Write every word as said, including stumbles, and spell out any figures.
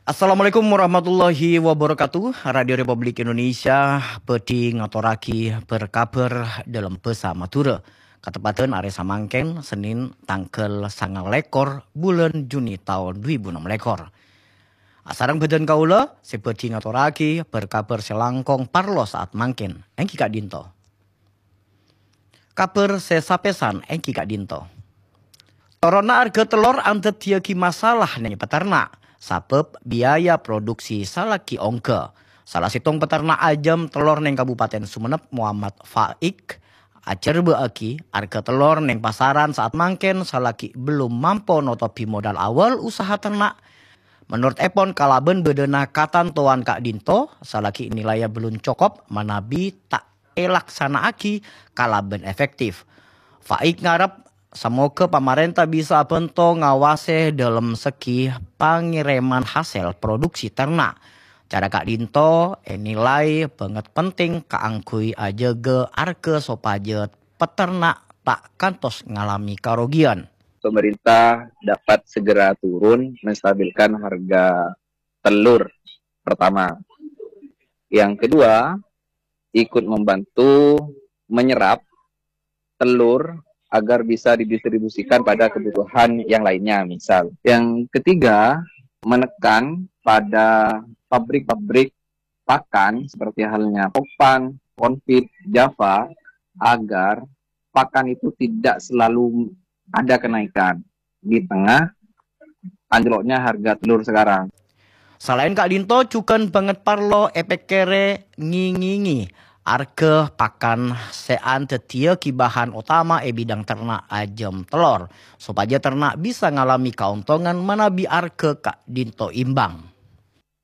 Assalamualaikum warahmatullahi wabarakatuh. Radio Republik Indonesia bhâdhi ngatorraghi bâr-kabhâr dâlem bhâsa Madhurâ. Kateppadhân arè samangkèn, Senin, tangghâl sanga lèkor bulân Juni taon dhu èbu ennem lèkor. Asareng bhâdhân kaulâ sè bhâdhi ngatorraghi bâr-kabhâr sè langkong parlo saat mangkèn, èngghi ka'dinto. Kabhâr sè sapèsan èngghi ka'dinto. Toronna arghâ tellor andhâddhiyâghi masalah neng peternak, sabâb biaya produksi salaghi ongghâ. Sala sèttong peternak ajâm tellor neng Kabupaten Sumenep, Muhammad Faik, ajhârbâ'âghi arghâ tellor neng pasaran saat mangkèn salaghi bellum mampo notobhi modal awal usaha ternak. Menurut èpon, kalabân bâdâna katantowan ka'dinto, salaghi nilaina bellum cokop manabi ta' èlaksana'aghi kalabân efektif. Faik ngarep samoghâ pamarènta bisa abhânto ngawasè dâlem segi pangèrèman hasèl produksi ternak. Cara ka'dinto ènilai bângèt penting kaangghuy ajâgâ arghâ sopajâ peternak ta' kantos ngalamè karogian. Pemerintah dapat segera turun menstabilkan harga telur pertama. Yang kedua, ikut membantu menyerap telur agar bisa didistribusikan pada kebutuhan yang lainnya, misal. Yang ketiga, menekan pada pabrik-pabrik pakan seperti halnya Topan, Confit, Java, agar pakan itu tidak selalu ada kenaikan di tengah anjloknya harga telur sekarang. Salaèn ka'dinto, jhughân bângèt parlo èpèkkèrè ngèngèngè arghâ pakan sè andhâddhiyâghi bahan otama è bidang ternak ajâm tellor, sopajâ ternak bisa ngalamè kaontongan manabi arghâ ka'dinto imbang.